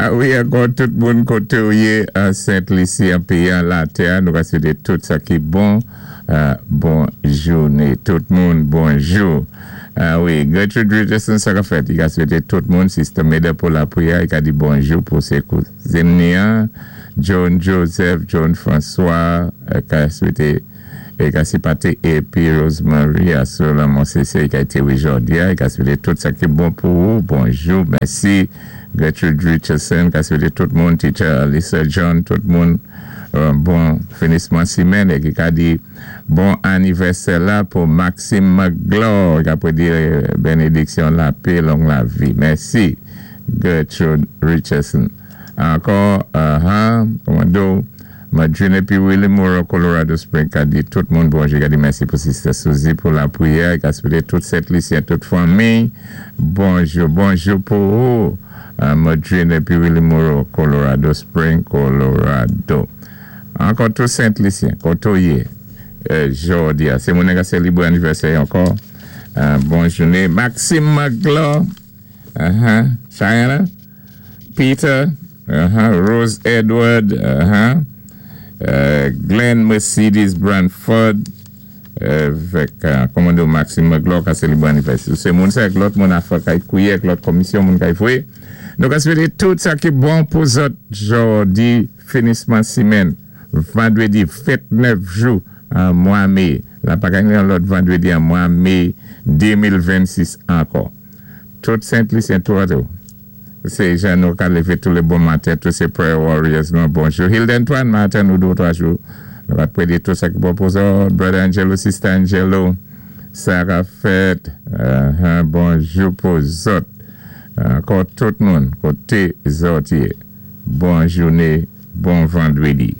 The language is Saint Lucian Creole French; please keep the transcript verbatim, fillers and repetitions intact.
Ah wi, ankò tout moun koté ou yé an Sent Lisi, an péyi an latè, nou ka swété tout sa ki bon, euh, bon jouné. Tout moun, bonjou. Ah wi, Gertrude Richardson, sa ka fèt, i ka swété tout moun, Sister Meda pou lapriyè, i ka di bonjou pou sé kouzin ni an, John Joseph, John François, i ka swété é ka sipaté épi Rosemary asou la Monsese ki a été jòdi a, i ka swété tout sa ki bon pou ou. Bonjou, mèsi. Gertrude Richardson, ka swété tout moun, Teacher Lisa John, tout moun, euh, bon finisman simenn é ki ka di bon anivèsè la pou Maxime McGlaw, ki a di bénédiksyon, lapè, long lavi. Mèsi, Gertrude Richardson. Ankò, uh -huh, kòman Madrine épi Willie Moore, Colorado Springs, ka di tout moun bonjou, ka di mèsi pou Sister Suzy pou lapriyè, ka swété tout Sent Lisyen, tout fanmi. Bonjou, bonjou pou ou. Uh, Madrine épi Willie Moore, Colorado Springs, Colorado. Ankò tout Sent Lisyen, koté ou yé, euh, jòdi a. Sé moun ki sélébré anivèsè ankò. Uh, bon jouné. Maxime McGlaw, uh-huh. Cheyenne, Peter, uh-huh. Rose Edward, uh-huh. Euh, Glenn Mercedes Branford, avèk kòmando Maxime McGlaw ka sélébré anivèsè. Sé moun sa ak lòt moun afè kay kouwé ak lòt komisyon moun kay fwé. Nou ka swété tout sa ki bon pou zòt jòdi finisman simenn vandwédi ventnèf jou an mwa mé. La pa genyen yon lòt vandwédi an mwa mé de mil vennsis ankò. Tout Sent Lisyen tou atou. Sé jan nou ka lévé tou lé bon maten, tout sé prayer warriors nou bonjou. Hilde Antoine, maten nou dé twa jou. Nou va prédé tout sa ki bon pou zòt. Brother Angelo, Sister Angelo, Sarah Fed, uh, bonjou pou zòt. Ankò tout moun, koté zòt yé. Bon jouné, bon vandwédi.